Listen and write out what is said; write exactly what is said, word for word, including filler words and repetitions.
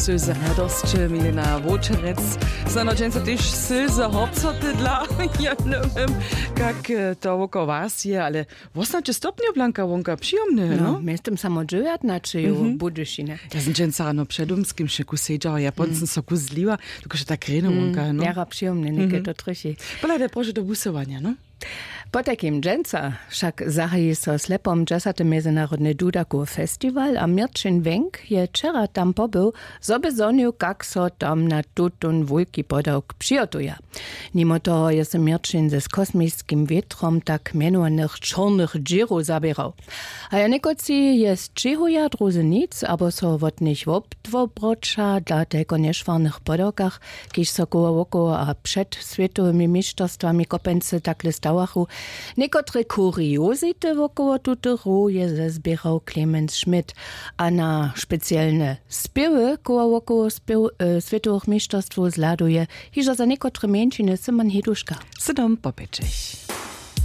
Sylze radosće, milena wowčerec. Snano dźensa tež sylze hopcoty dla, ja njewěm, kak to wokoło was je, ale wosnaće stopnjow blanka wonka, přijomne. No, mjeztym samo dźewjatnaćeju w budyšinje. Ja sym dźensa rano před domskim wšeku sedźała, ja pon sym so kuzliła, dokelž je tak rjeno wonka. No, jara přijomne, něke to trjechi. Pola te proše do busowanja, no. Potajkim dźensa wšak zahaji so slepom dźesaty mjezynarodny dudakowy festiwal a měrćin wjenk je wčera tam pobył, zo by zhonił, kak so tam na tutón wulki podawk přihotuja. Nimo toho je so měrćin z kosmiskim wětrom tak mjenowanych čornych dźěrow zaběrał. A ja někotři je sćěhuja, druzy nic abo so wot nich wobdwobroća dla telko nješwarnych podawkach, kiž so koło wokoło a před swětowymi mišćerstwami kopency takle stawachu. Někotre kuriozity wokoło tutych row je zezběrał clemens schmidt. A na specielne spěwy koło wokoło spěw swětowych mišćerstwow zhladuje hižo za někotre mjeńšiny syman heduška. Sydom popěćech.